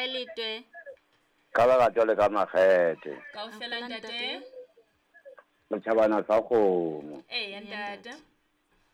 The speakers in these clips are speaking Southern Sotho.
Kae letwe? Ka lerato le ka makgethe. Kaofela ntate. Motjhabana sa kgomo. Eya ntate.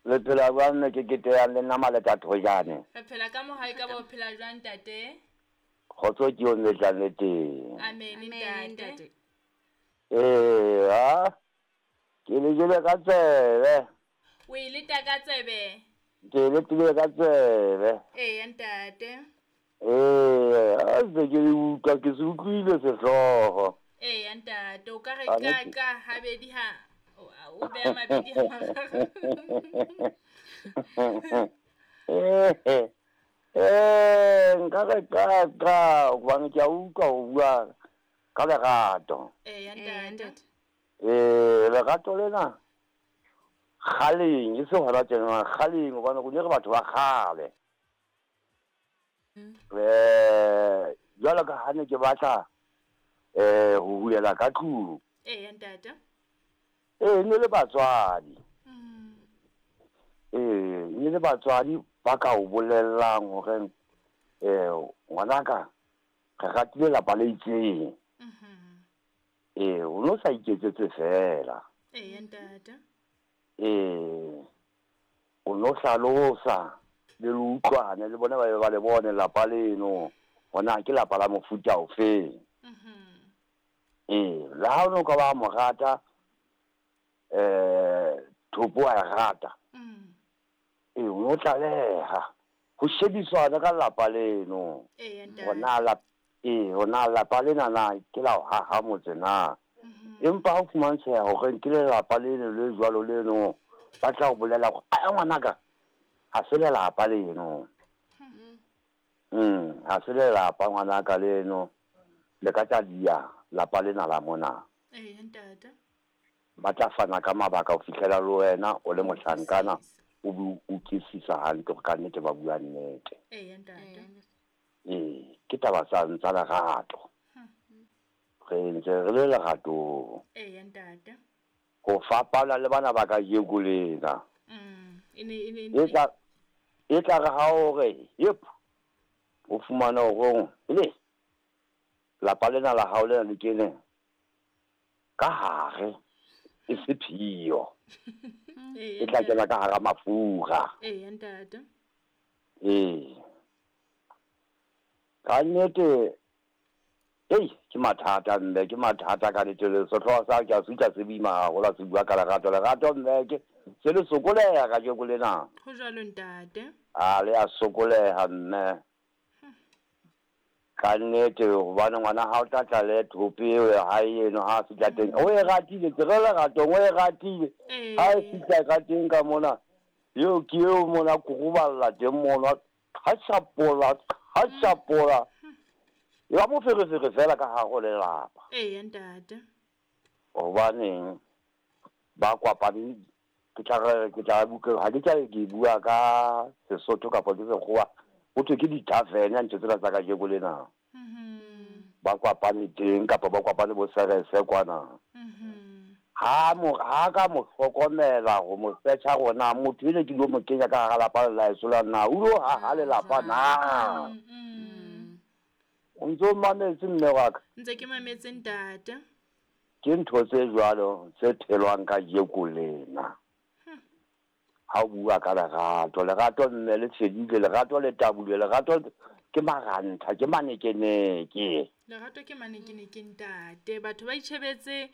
Le phela jwang mme ke keteyang le nna Maleta Thojane? Re phela ka mohau ekaba o phela jwang ntate? Kgotso ke eo mme tlang le teng. Amen ntate. Ee, ha ke le jele ka tsebe. O e leta ka tsebe? Ke e letile ka tsebe. Eya ntate. Ee, ha se ke utlwa ke se utlwile sehlooho. Eya ntate, o ka re ka ka habedi ha o beha mabedi ha mararo. Ee, nka re ka ka hobane ke a utlwa ho bua ka lerato. Eya ntate. Ee, lerato lena kgaleng e se hona tjena, kgaleng hobane rona re batho ba kgale. Eh, jwalo ka ha ne ke batla eh ho hulela ka tlung. Eya ntate. Ee, ne le batswadi. Ee, ne le batswadi ba ka o bolellang hore eh ngwanaka re ratile lapa le itseng. Ee, o no sa iketsetse fela. Eya ntate. Ee, o no hlalosa le le utlwane le bona ba be ba le bone lapa leno gona ke lapa la mofuta ofeng. Ee, le ha o no ka ba mo rata thopo wa e rata. Ee, o no tlaleha ho shebisana ka lapa leno. Hona ee, hona lapa lena na ke la ho haha motse na. Empa ha o fumantsheha hore ke lelapa leno le jwalo leno, ba tla o bolela hore a ngwanaka ha se lelapa leno. Ha se lelapa ngwanaka leno, le ka tla dia lapa lena la mona. Eya ntate. Ba tla fana ka mabaka ho fihlela le wena o le mohlankana o be o utlwisisa hantle hore ka nnete ba bua nnete. Eya ntate. Ee, ke taba tsa tsa lerato. Re ntse re le leratong. Eya ntate. Ho fapana le bana ba kajeko lena. E tla re ha o re yep, o fumana hore le lapa lena la hao lena le kene ka hare e se phiyo. E tla kena ka hara mafura. Eya ntate. Ee. Ka nnete ei, ke mathata mme, ke mathata ka nnete. Le sehlooho sa ke a se utlwa se boima haholo ha se bua ka lerato. Lerato mme ke se le sokoleha kajeko lena. Ho jwalo ntate. A le a sokoleha mme. Ka nnete hobane ngwana ha o tla tla le thope eo ya hae eno ha a fihla teng. O e ratile, ke re leratong o e ratile. Ha e fihla ka teng ka mona, eo ke eo mona koroballa teng mona. Qhashapola, qhashapola. E ba moferefere fela ka hare ho lelapa. Eya ntate. Hobaneng ba kopane ke tla re ke tla ha ke tla ke bua ka Sesotho kapa ke Sekgowa, ho thwe ke di-tavern ntho tsena tsa kajeko lena. Ba kopane teng kapa ba kopane bo serese kwana. Ha mo ha ka mo hlokomela ho mo search-a hore na motho ene ke lo mo kenya ka hara lapa la heso la na o lo haha lelapa na. O ntso mametse mme wa ka? Ntse ke mametse ntate. Ke ntho tse jwalo tse phelwang kajeko lena. Ha o bua ka lerato, lerato mme le fedile, lerato le tabulwe, lerato ke marantha, ke manekeneke. Lerato ke manekeneke ntate. Batho ba itjhebetse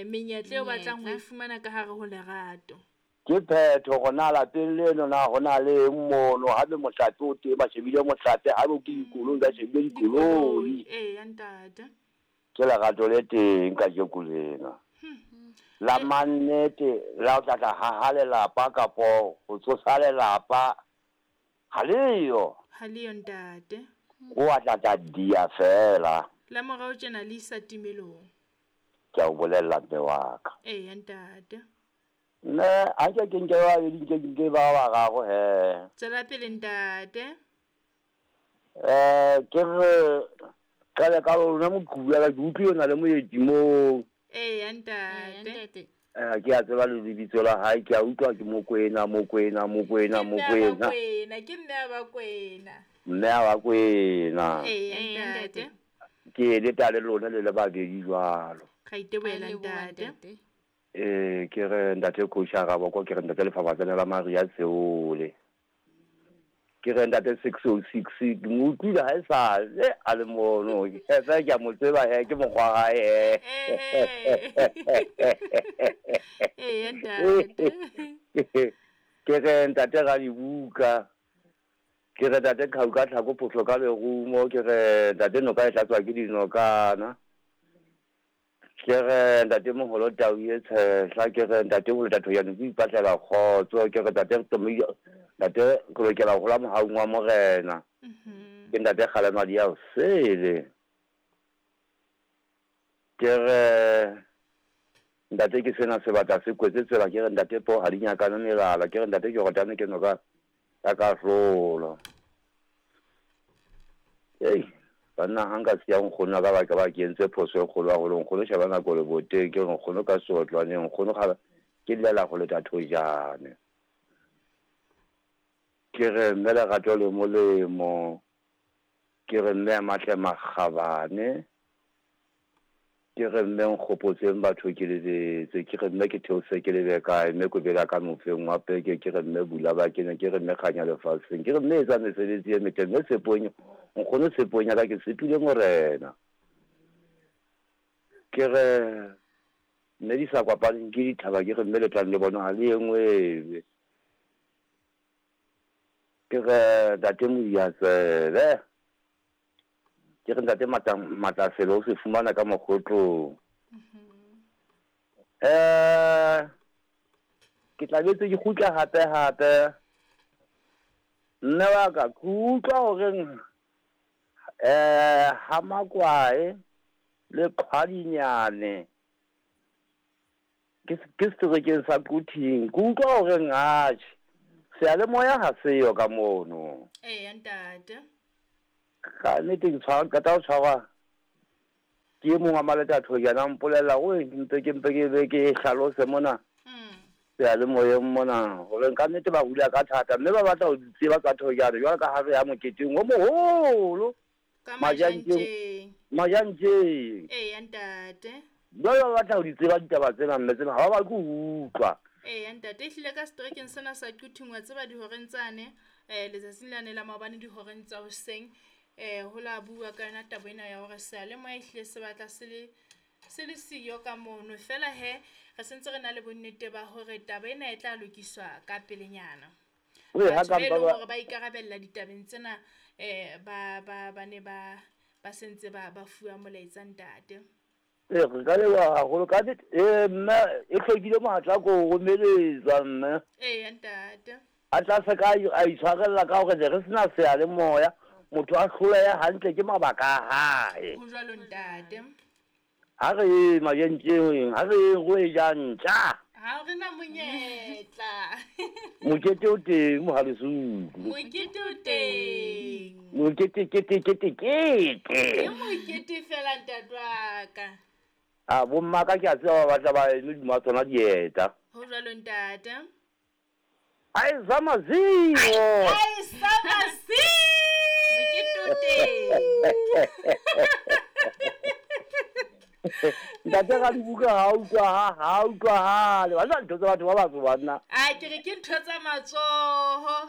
menyetla eo batlang ho e fumana ka hare ho lerato. Ke phetho hore na lapeng leno na ho na le eng mono, haebe mohlape o teng ba shebile mohlape, haebe ke dikoloi ba shebile dikoloi. Eya ntate. Ke lerato le teng kajeko lena. La mannete la o tla tla haha lelapa kapo ho tsosa lelapa ha leyo. Ha leyo ntate. O a tla tla dia fela. La morao tjena le isa timelong. Ke a o bolella mme wa ka. Eya ntate. Mme ha nke ke nke ba babedi nke nke ba bararo he. Tswela pele ntate. Ke re qale ka lona moqhubu ya ka ke utlwile o na le moeti moo. Eya ntate. Ke a tseba le lebitso la hae, ke a utlwa ke Mokwena, Mokwena, Mokwena, Mokwena. Ke mme a Bakwena. Mme a wa kwena. Ee, ntate. Ke leta le lona le le babedi jwalo. Ra itebohela ntate. Ee, ke re ntate Coach Araboko, ke re ntate Lefafatsane la Maria Seole. Ke re ntate 606, ke mo utlwile ha e sa le a le mono. Fe ke a mo tseba he, ke mokgwa wa hae he. Ee, ntate. Ke re ntate Radibuka. Ke re ntate Qhau ka tlhako phosho ka lerumo, ke re ntate noka e tlatswa ke dinokana. Ke re ntate moholo tau e tshehla, ke re ntate ho leta thoyane ke ipatlela kgotso, ke re ntate ntate re lokela ho hola mohaung wa morena. Ke ntate Kgalemadi ya osele. Ke re ntate ke sena sebata se kwetse tsela, ke re ntate po ha di nyakane melala, ke re ntate ke rotane ke noka ya kahlolo. Ei, banna ha nka siya nkgono ka ba ka ba ke entse phoso e kgolo haholo. Nkgono sheba nako le boteng, ke re nkgono ka seotlwaneng, nkgono ga ke llela go leta thojane. Ke re mme lerato le molemo, ke re mme a matle makgabane, ke re mme nkgopotseng batho ke lebetse, ke re mme ke theose ke lebe kae, mme kobela ka mofeng wa peke, ke re mme bula ba kene, ke re mme kganya lefatsheng, ke re mme etsa mesebetsi e metle, mme tshepong, nkgono tshepong ya ka ke tshepile morena. Ke re mme di sa kopaneng ke dithaba, ke re mme le tlang le bona ha le engwebe. Ke re ntate Modiatsebe, ke re ntate Matlasele o se fumana ka mokgotlong. Ke tla betse ke kgutla hape hape. Mme wa ka ke utlwa horeng ha Makwae le Qhwadinyane ke seterekeng sa Quthing. Ke utlwa horeng atjhe seyalemoya ha seyo ka mono. Ee, ntate. Ka nnete ke tshwara qeta ho tshwarwa ke e mong wa Maleta Thojana, mpolella hore mpe ke mpe ke be ke hlalose mona seyalemoyeng mona hore ka nnete ba hula ka thata mme ba batla ho di tseba tsa Thojane jwalo ka ha re ya moketeng o moholo Ka Majantjeng. Majantjeng. Ee, ntate. Jwale ba batla ho di tseba ditaba tsena mme tsena ha ba batle ho utlwa. Ee, ntate, ehlile ka seterekeng sena sa Quthing wa tseba dihoreng tsane, letsatsing lane la maobane dihoreng tsa hoseng, ho la bua ka yona taba ena ya hore seyalemoya ehlile se batla se le siyo ka mono. Feela he, re sentse re na le bonnete ba hore taba ena e tla lokiswa ka pelenyana. Batho ba e leng hore ba ikarabella ditabeng tsena, ba ne ba sentse ba fuwa molaetsa ntate. Ee, re ka leboha haholo ka nnete. Ee, mme e hlokile mohatla ko o romeletsa mme. Ee, ntate. A tla se ka a itshwarella ka hore ne re sena seyalemoya, motho a hlolehe hantle ke mabaka a hae. Ho jwalo ntate. Ha re ye majentjeng, ha re ye go e ja ntja. Ha re na monyetla. Mokete o teng Mohalesuku. Mokete o teng. Mokete kete kete kete. Ke mokete fela ntate wa ka. A bomma ka ke a tseba ba batla ba eme hodima tsona dieta. Ho jwalo ntate. Ai sa maziwo. Ai sa maziwo. Mokete o teng. Ntate Radibuka ha utlwa ha utlwahale. Wa ntho tsa batho ba batsho banna. A ke re ke ntho tsa matsoho.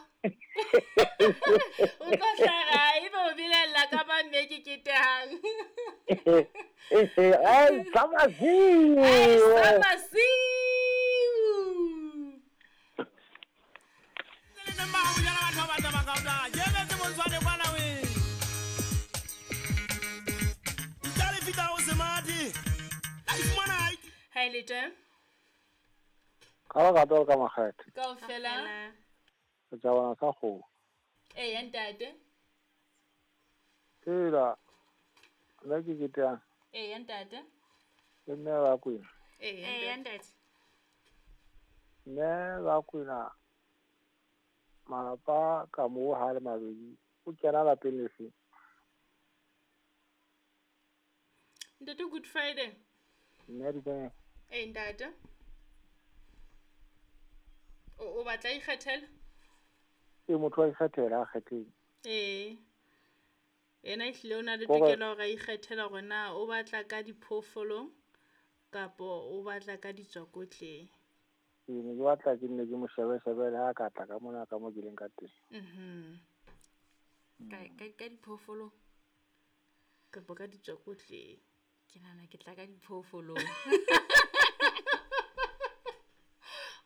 O tlo hlaha ebe o belaella ka mamme ke ketehang. Ai sa maziwo. Ai sa maziwo. Ha ile teng? Ka ba ka ka makgethe. Kaofela. Re tla bona sa kgomo. Ee, ntate. Tsela. Nna ke ketehang. Ee, ntate. Ke mme ba kwena. Ee, ntate. Mme ba kwena malapa ka moo ha le mabedi o kena lapeng lefe? Ntate, Good Friday. Mme di Ee, ntate. O batla ikgethela? Ee, motho wa ikgethela a kgetheng. Ee. Ena ehlile o na le tokelo hore a ikgethela hore na o batla ka diphoofolong kapo o batla ka ditswakotleng. Ke ne ke batla ke nne ke mo shebe-shebe le ha ka tla ka mona ka mo ke leng ka teng. Ka diphoofolong kapo ka ditswakotleng. Ke nahana ke tla ka diphoofolong.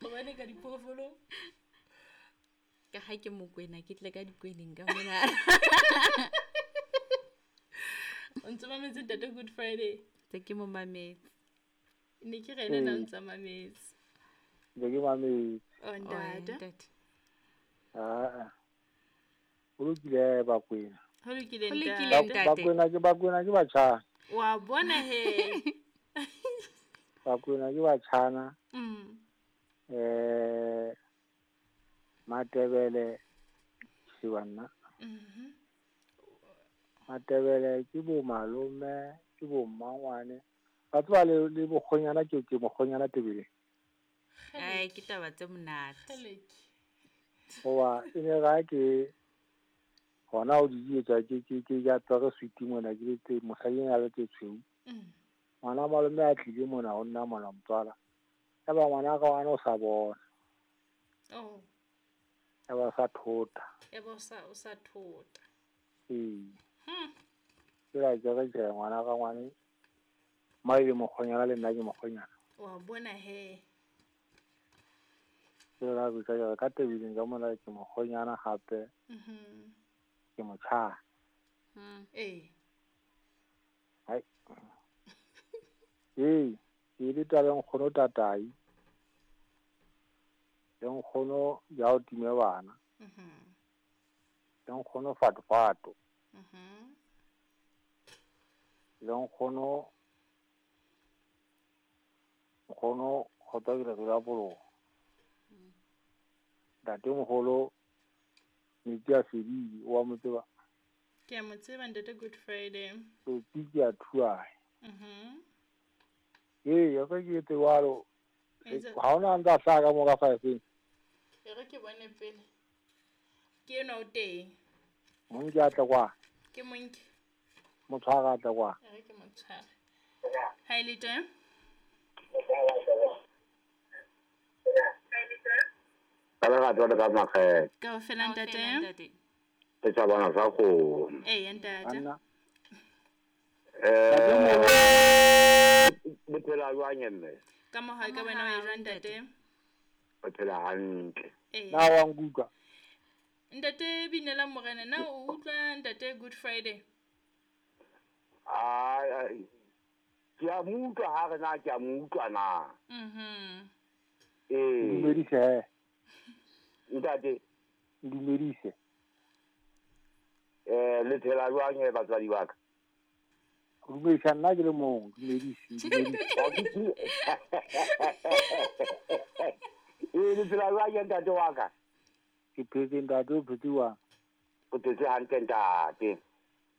Hobane ka diphoofolong? Ka ha ke Mokwena, ke tle ka dikweneng ka mona. O ntse mametse Ntate Good Friday? Tse ke mo mametse. Ne ke re ena na ntse mametse. Ne ke mametse. O ntate. Ah. Ho lokile Bakwena. Ho lokile ntate. Bakwena ke batjhana. Wa bona he. Bakwena ke batjhana. Matebele Sibanna. Matebele ke bo malome, ke bo mmangwane. Ba tseba le bokgonyana ke mokgonyana Tebele. Ai ke taba tse monate. Hoba e ne ga ke hona o di etsa ke ja tsere sweet mona ke le mosadi a le tse tshweu. Ngwana malome a tlile mona ho nna mona motswala. Ya ba ngwana ka ngwana o sa bona. Oh. Ya ba sa thota. Ya ba o sa thota. Ee. Ke la ke re ngwana ka ngwane mai le mokgonyana le nna ke mokgonyana. Wa bona he. Ke la go ka ka Tebeleng ka mona ke mokgonyana hape. Ke motjhana. Ee. Hai. Ee, ke le taba nkgono tatai. Le nkgono ya o time bana. Le nkgono fatfato. Le nkgono kgotsa ke re la bolo. Ntate moholo metsi a fedile wa mo tseba. Ke a mo tseba Ntate Good Friday. Tsotsi ke a thuae. Ee, ya ka ke tsewalo. Ha ona ntsa hlaka ka mo ka 5. E re ke bone pele. Ke ena o teng. Monke a tla kwa. Ke monke. Motshwara a tla kwa. E re ke motshwara. Ha ile teng? Ka lerato le ka makgetho. Kaofela ntate. Ke tsa bona sa go. Ee ntate. Le phela jwang mme? Ka mo hae ka wena o e jwang ntate? O phela hantle. Na wa nkutlwa? Ntate Binela Morena, na o utlwa Ntate Good Friday? Ai, ke a mo utlwa ha re na ke a mo utlwa na. Ee. Dumedise. Ntate. Dumedise. Le phela jwang batswadi ba ka? Dumedisa nna ke le mong, dumedise. Ee, le phela jwang ntate wa ka? Ke phetse ntate, o phetse jwang? O phetse hantle ntate.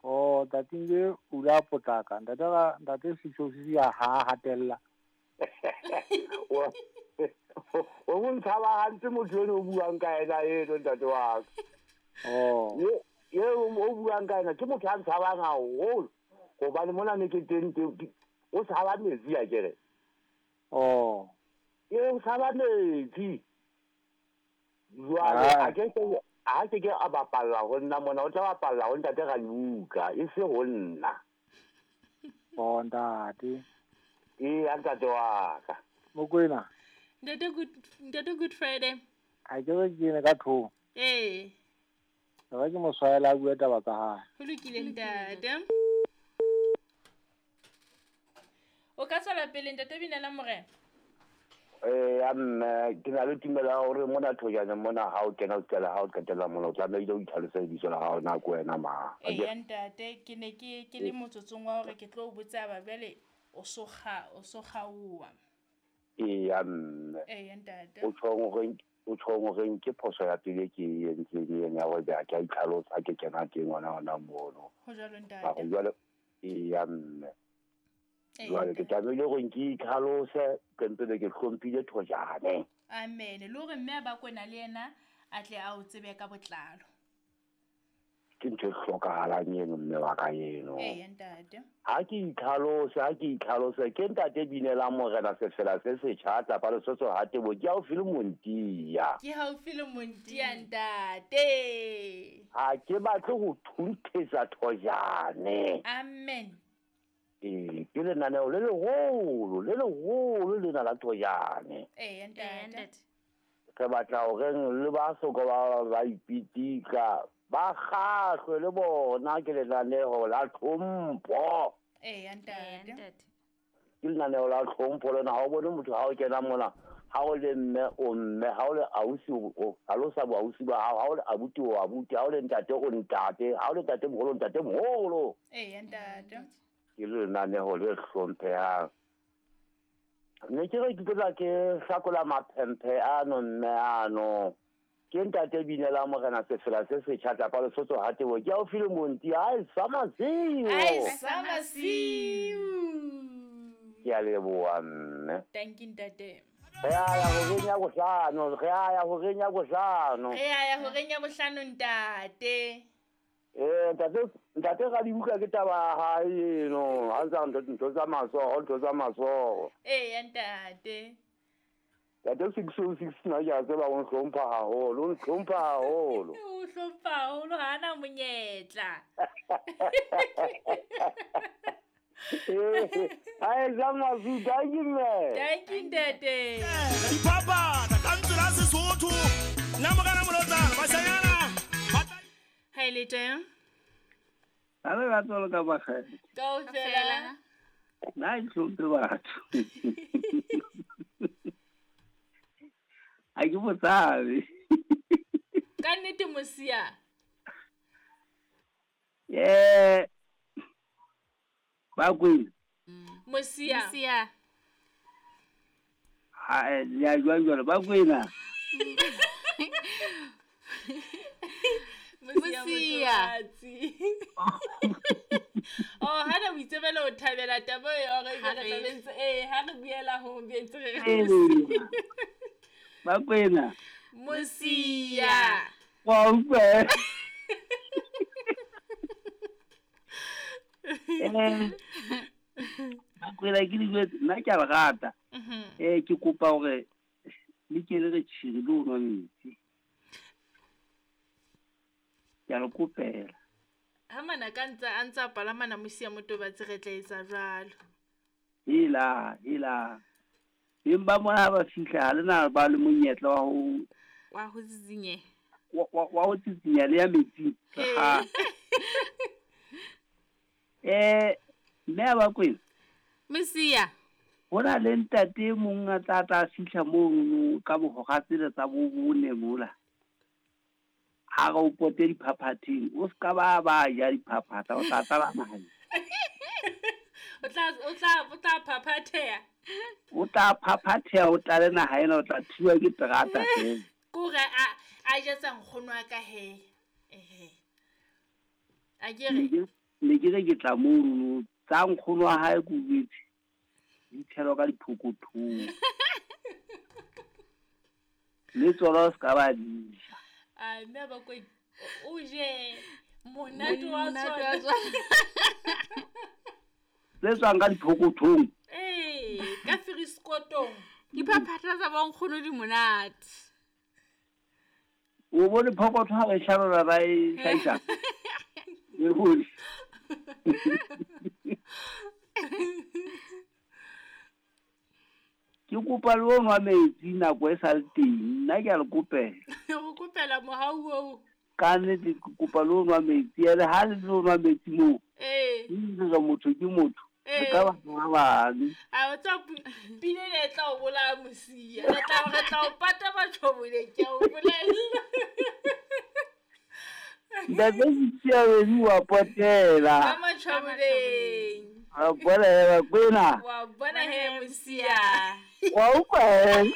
Oh, ntate nge o la potlaka. Ntate ka ntate sitso se ya ha hatella. O mo ntshaba hantle motho eno o buang ka ena eno ntate wa ka. Oh. Ye o buang ka ena ke motho a ntshabang haholo. Hobane mona ne ke teng o tshaba metsi a kere. Oh. Ye o tshaba metsi. Jwale a ke ke a bapalla ho nna mona, o tla bapalla ho ntate Radibuka, e se ho nna. Oh ntate. Ee, ntate wa ka. Mokwena. Ntate Good Friday. A ke re ke ne ka thong. Ee. Re ke mo tshwaela a bua taba tsa hae. Ho lokile ntate. O ka tswela pele Ntate Binela Morena. Mme ke na le tumelo ya hore mona Thojane mona ha o kena o qala ha o qetella mona o tlamehile o itlhalose lebitso la hao na ke wena mang. Ee ntate, ke ne ke le motsotsong wa hore ke tlo o botsa ba jwale o so kgaowa. Ee mme. Ee ntate. O tjhong hore ke phoso ya pele ke entseng ena ya hore ke a itlhalosa ke kena teng hona mono. Ho jwalo ntate. Jwale ee mme. Jwale ke tlamehile hore ke itlhalose ke ntse ke hlomphile Thojane. Amen. Le hore mme a Bakwena le yena a tle a o tsebe ka botlalo. Ke ntho e hlokahalang eno mme wa ka eno. Eya ntate. Ha ke itlhalose, ha ke itlhalose, ke ntate Binelang Morena Sefela se setjha tlapa Lesotho ha Tebo, ke haufi le Montia. Ke haufi le Montia ntate. Ha ke batle ho thunthetsa thojane. Amen. Ee, ke lenaneo le leholo, le leholo lena la thojane. Eya ntate. Re batla horeng le ba soka ba ipitika, ba kgahlwe le bona ke lenaneo la tlhompho. Eya ntate. Ke lenaneo la tlhompho lena, ha o bone motho ha o kena mona, ha o le mme o mme, ha o le ausi o hlalosa boausi ba hao, ha o le abuti o abuti, ha o le ntate o ntate, ha o le ntate moholo ntate moholo. Eya ntate. Ke lenaneo le hlomphehang. Ne ke re ke tla ke hlakola maphemphe ano mme ano. Ke ntate Binelang Morena Sefela se setjha tlapa Lesotho ha Tebo, ke haufi le Monti, ai sa masiu. Ai sa masiu. Ke a leboha mme. Thank you ntate. Re a ya horeng ya bohlano, re a ya horeng ya bohlano. Re a ya horeng ya bohlano ntate. Ntate, ntate Radibuka ke taba ya hae eno, ha ntsa ntho tsa matsoho, ntho tsa matsoho. Eya ntate. Ntate 606 nna ke a tseba o nhlompha haholo, o nhlompha haholo. O hlompha haholo, ha ana monyetla. Ai sa masiu, thank you mme. Thank you ntate. Dipapata ka ntlo la Sesotho. Nna mokana molotsana, bashanyana. Ha e le teng? Ha re batla le ka bakgele. Kaofela. Nna ke hlomphe batho. Ha ke botsabe. Ka nnete mosia. Bakwena. Mosia. Mosia. Ha ya jwang jwale Bakwena. Mosia. Oh, ha re itsebela o thabela taba e hore re tla bentse ha re buela ho bentse re re. Bakwena. Mosia. Wa utlwa. Bakwena ke dijwetse nna ke a le rata. Ke kopa hore le ke le re tjhiri le ho nwa metsi. Ke a le kopela. Ha manaka a ntsa palamana mosia motobatsi re tla etsa jwalo. Hela, hela. Beng ba mona ha ba fihla ha le na ba le monyetla wa ho tsitsinya. Wa ho tsitsinya le ya metsing. Ha. Mme a Bakwena. Mosia. Ho na le ntate mong a tla fihla mono ka bohora tsela tsa bo bone mola. Ha re o pote diphaphatheng, o ska ba ja diphaphatha, o tla tlala naha. O tla phaphatheha. O tla phaphatheha, o tlale naha ena, o tla thiwa ke terata fela. Kore a jetsa nkgono wa ka he. Ehe. A ke re ne ke re ke tla mono tsa nkgono wa hae ke utlwetse di tshelwa ka diphokothong. Le tsona o ska ba di ja. A mme Bakwena o je monate wa tsona. Tse tswang ka diphokothong. Ka firiskotong. Diphaphatha tsa bonkgono di monate. O bone phokotho ha ba e hlarola ba e hlahisa. E bone. Ke kopa le o nwa metsi nako e sa le teng, nna ke a le kopela. Go kopela mohau oo. Ka nnete ke kopa le o nwa metsi, ene ha le tlo nwa metsi moo. Ee. Motho ke motho. Re ka ba ba bang. A o tsa pine le tla o bolaya mosia. Re tla o pata batjhobole ke a o bolella. Ntate Mosia wa potela. Ka matjhoboleng. Wa bona he Bakwena. Wa bona he mosia. Wa utlwa he.